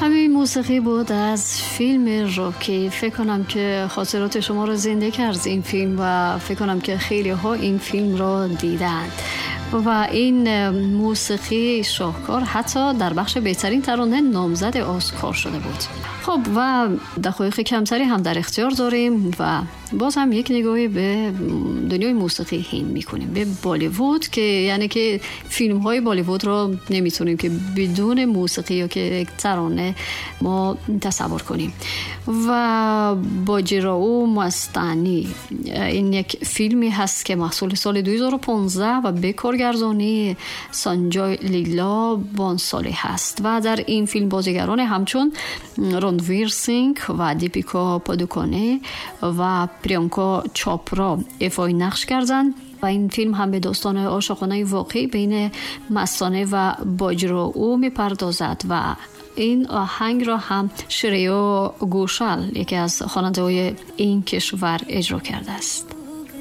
Ҳамин мусиқӣ буд аз филми Роки. Фикр кунам, ки хотироти шуморо зинда кард ин филм ва фикр кунам, ки хелеҳо ин филмро дидаанд. Ва ин мусиқии шоҳкор ҳатто дар бахши беҳтарин тарона номзади Оскар шуда буд. Хуб, ва дақоиқи камтаре ҳам дар ихтиёр дорем ва боз ҳам як нигоҳе ба дунёи мусиқии ҳинд мекунем, ба Болливуд, ки яъне ки филмҳои Болливудро наметавонем, ки бидуни мусиқӣ ё ки як тарона мо тасаввур кунем. Ва Боҷирао Мастанӣ, ин як филме ҳаст, ки маҳсули соли 2015 ва ба коргардонии Санҷой Лила Бонсолӣ ҳаст ва дар ин филм бозигароне ҳамчун Ронвир Синг ва Дипика Падуконе ва Приянка Чопра ифои нақш карданд. Ва ин филм ҳам ба достони ошиқонаи воқеӣ байни Мастона ва Боҷирао мепардозад ва ин оҳангро ҳам Шрея Гошал, яке аз хонандаҳои ин кишвар, иҷро кардааст.